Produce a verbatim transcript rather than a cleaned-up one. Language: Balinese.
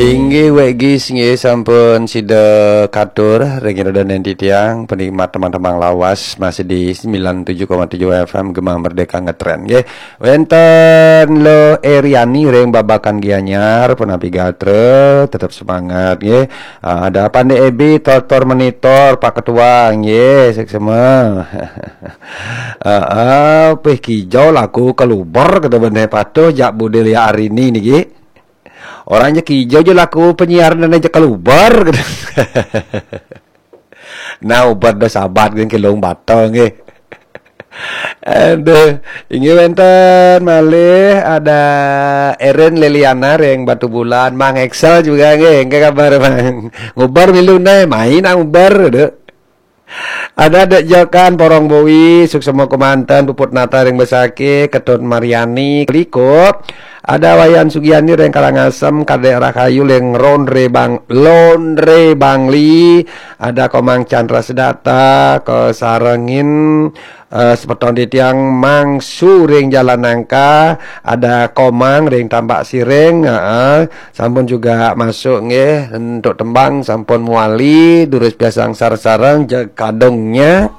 Inggih, Wek Gis, nggih, sampun sida katur ring ida dané titiang penikmat tembang-tembang lawas masih di sembilan tujuh koma tujuh F M Gema Merdeka Ngetren, nggih. Wénten Lo Eriani ring Babakan Gianyar, punapi gatra, tetep semangat, nggih. Ah, ada Pandé Ebi, Tortor Menitor, Pak Ketua, nggih, suksma. Heeh, pih kijau laku kaluber, kata bené patuh jak Budé Lia Arini niki. Orang ja kijau ja laku penyiar dan aja kaluber, kata. Nah, ubat dah sabat geng kilung batang, eh. Aduh, inggih wénten malih ada Erin Liliana ring Batubulan, Mang Excel juga nggih, nggih kabar Mang. Ngubar milu nah, main ah ngubar, aduh. Ada Dek Jokan, Porong Bowi, suksma kemanten, Puput Nata ring Besakih, Ketut Mariani, Keliko. Ada Wayan Sugiani ring Karangasem, Kadek Rahayu ring Londre Bang, Londre Bangli. Ada Komang Chandra Sedata, kasarengin, eh, semeton titiang Mangsu ring Jalan Nangka, ada Komang ring Tambak Siring, heeh. Sampun juga masuk nggih, untuk tembang sampun muali, durus piasang sareng-sareng jeg kadungnya.